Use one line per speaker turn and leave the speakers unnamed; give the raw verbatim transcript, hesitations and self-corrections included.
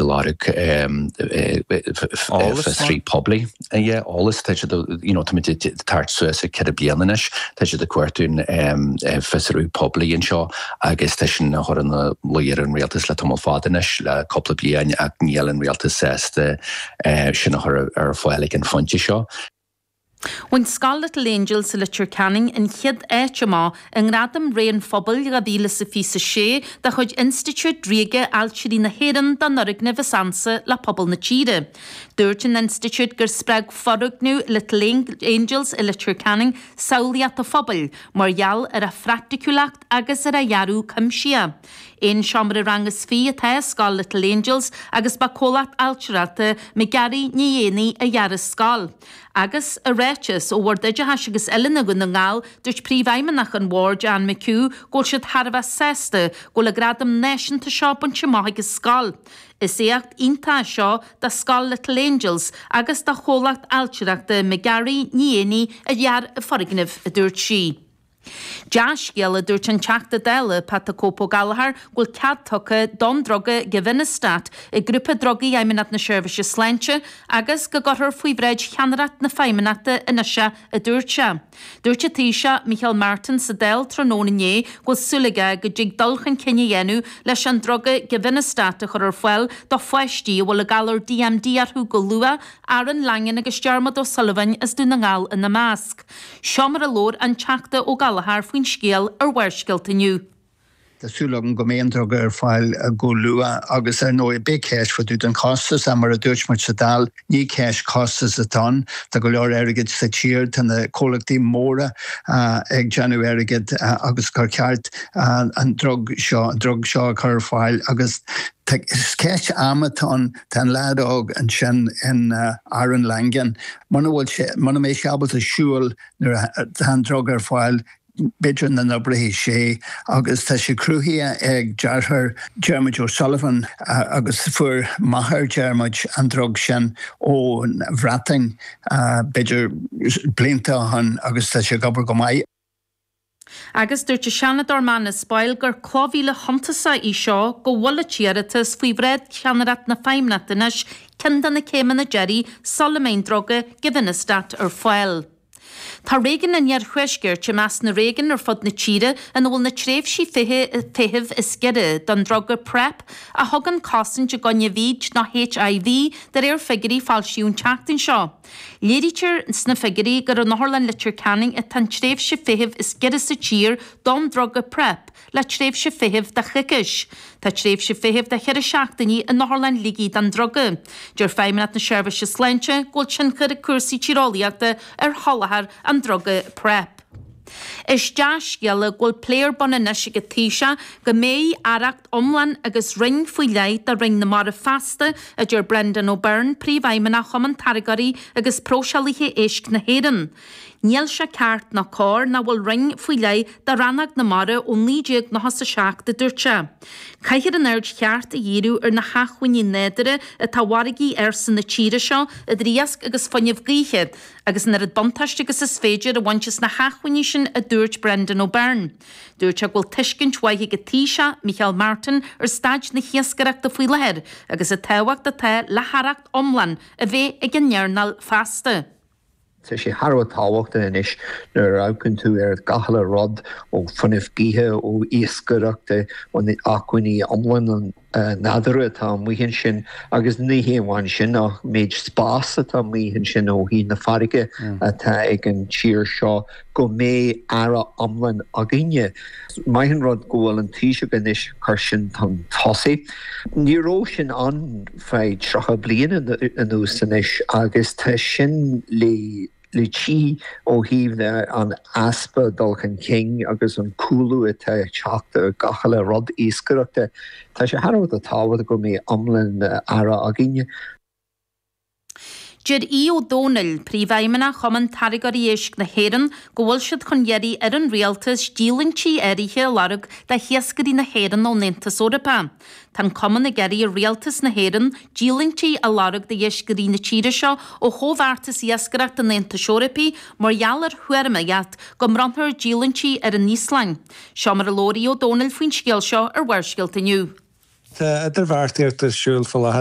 ag lorg fiosrú poiblí. Eolas tá siad you know, táimid ag tabhairt suas ag ceithre bliana anois, tá siad ag cuartú fiosrú poiblí anseo agus tá sin á chur ina luí ar an rialtas le tamall fada anois le cúpla bliain ach níl an rialtas sásta sin a chur ar fáil ag an phointe seo.
Bhain Scoil Little Angels i Leitir Ceanainn an chéad áit amach i nGradam Ré an Phobail dhá mhíle is a fiche a sé de chuid Institiúid Ríoga Ailtirí na hÉireann don fhoirgneamh is ansa le pobal na tíre. Dúirt an institiúid gur spreag foirgneamh Little Angels i Leitir Ceanainn samhlaíocht an phobail mar gheall ar a phraiticiúlacht agus ar a dhearadh cuimsitheach. Aon seomra ranga is fiche atá i Scoil Little Angels agus ba comhlacht ailtireachta McGarry Ní Éanaí a dhear an scoil. Agus i ráiteas ó Bhord Oideachais agus Oiliúna Dhún na nGall, dúirt Príomhfheidhmeannach an Bhoird Anne McHugh go bhfuil siad thar a bheith sásta go bhfuil an gradam náisiúnta seo bainte amach ag an scoil. Is éacht iontach é seo do Scoil Little Angels agus do chomhlacht ailtireachta McGarry Ní Éanaí a dhear an foirgneamh, a dúirt sí. Dea-scéal, a dúirt an Teachta Dála Pat the Cope Ó Gallchóir, go bhfuil cead tugtha don druga Givinostat ag Grúpa Drugaí Fheidhmeannacht na Seirbhíse Sláinte agus go gcuirfear faoi bhráid cheannaireacht na Feidhmeannachta anois é, a dúirt sé. Dúirt an Taoiseach Micheál Martin sa Dáil tráthnóna inné go bhfuil súil aige go dtig dul chun cinn a dhéanamh leis an druga Givinostat a chur ar fáil do pháistí a bhfuil an galar DMD orthu go luath, Aaron Langan agus Diarmuid Ó Súilleabháin as Dún na nGall ina measc. Seo mar a labhair an Teachta Ó Gallchóir faoin scéal ar Bharrscéalta inniu.
Tá súil agam go mbeidh an druga ar fáil go luath agus ar ndóigh beidh ceist fá dtaobh den chostas mar a dúirt muid sa Dáil ní ceist costas atá ann tá go leor airgid sa tír tá na comhlachtaí móra ag déanamh airgid agus gur ceart an drug seo an drug seo a chur ar fáil agus ceist ama atá ann tá an leaid óg ansin in Aaron Langan muna bhfuil sé muna mbeidh sé ábalta siúl nuair atá an drug ar fáil b'fhéidir nach n-oibreoidh sé agus tá sé cruthaithe ag deartháir Dermot O'Sullivan agus fuair máthair Dermot an drug sin ón Bhreatain b'fhéidir blianta ó shin agus tá sé ag obair go maith.
Agus dúirt an Seanadóir Manus Boyle gur cloch mhíle shuntasach í seo go bhfuil an t-iarratas faoi bhráid cheannaireacht na Feidhmeannachta anois ceann de na céimeanna deiridh sula mbeidh an druga Givinostat ar fáil. Tá réigiún an Iarthuaiscirt i measc na réigiún ar fud na tíre ina bhfuil na tréimhsí feithimh is giorra don druga PrEP a thugann cosaint i gcoinne V I D nó H I V de réir figiúirí a foilsíodh an tseachtain seo. Léirítear sna figiúirí gur in Otharlann Leitir Ceanainn atá an tréimhse feithimh is giorra sa tír don druga PrEP le tréimhse feithimh de choicís. Tá tréimhse feithimh de cheithre seachtainí in Otharlann Shligigh don druga. Deir Feidhmeannacht na Seirbhíse Sláinte go bhfuil tionchar ag cúrsaí tíreolaíochta ar sholáthar an druga PrEP. Is dea-scéala go bhfuil plé ar bun anois ag an Taoiseach go mbeidh aireacht iomlán agus roinn faoi leith do Roinn na Mara feasta, a deir Brendan O'Byrne, Príomhfheidhmeannach Chumann Táirgeoirí agus Próiseálaithe Éisc na hÉireann. Níl sé ceart ná cóir nach bhfuil roinn faoi leith do rannóg na mara ó naoi déag nócha a seacht, a dúirt sé. Caithfear an aird cheart a dhíriú ar na hacmhainní nádúrtha atá i bhfarraigí ársa na tíre seo, idir iasc agus fuinneamh gaoithe, agus an oiread buntáiste agus is féidir a bhaint as na hacmhainní sin, a dúirt Brendan O'Byrne. Dúirt sé go bhfuil tuiscint mhaith ag an Taoiseach, Micheál Martin, ar staid na hiascaireachta faoi láthair agus an tábhacht atá le haireacht iomlán a bheith ag an earnáil feasta.
Tá sé thar a bheith tábhachtach anois nuair a amharcann tú ar gach uile rud ó fuinneamh gaoithe, ó iascaireacht, ó na acmhainní iomlán nádúrtha atá amuigh ansin agus ní hé amháin sin ach méid spás atá amuigh ansin ó thaobh na farraige atá ag an tír seo go mbeidh aire iomlán againne. Maith an rud go bhfuil an Taoiseach anois ag cur sin chun tosaigh. Ní raibh sin ann feadh tríocha bliain anuas anois agus tá sin le le tcí ó thaobh an easpa dul chun cinn agus an cúlú atá ag teacht ar gach uile rud iascaireachta. Tá sé thar a bheith tábhachtach go mbeidh iomlán aire againne.
Deir Aodh Ó Domhnaill, Príomhfheidhmeannach Chumann Táirgeoirí Éisc na hÉireann, go bhfuil siad chun iarraidh ar an Rialtas díolúintí áirithe a lorg do hiascairí na hÉireann ón Aontas Eorpach. Tá an Cumann ag iarraidh ar Rialtas na hÉireann díolúintí a lorg d'iascairí na tíre seo ó chomhbheartas iascaireachta an Aontais Eorpaigh mar gheall ar thuairimíocht go mbronnfar díolúintí ar an Íoslainn. Seo mar a labhair Aodh Ó Domhnaill faoin scéal seo ar Bharrscéalta inniu.
Tá idirbheartaíocht ar siúl faoi láthair.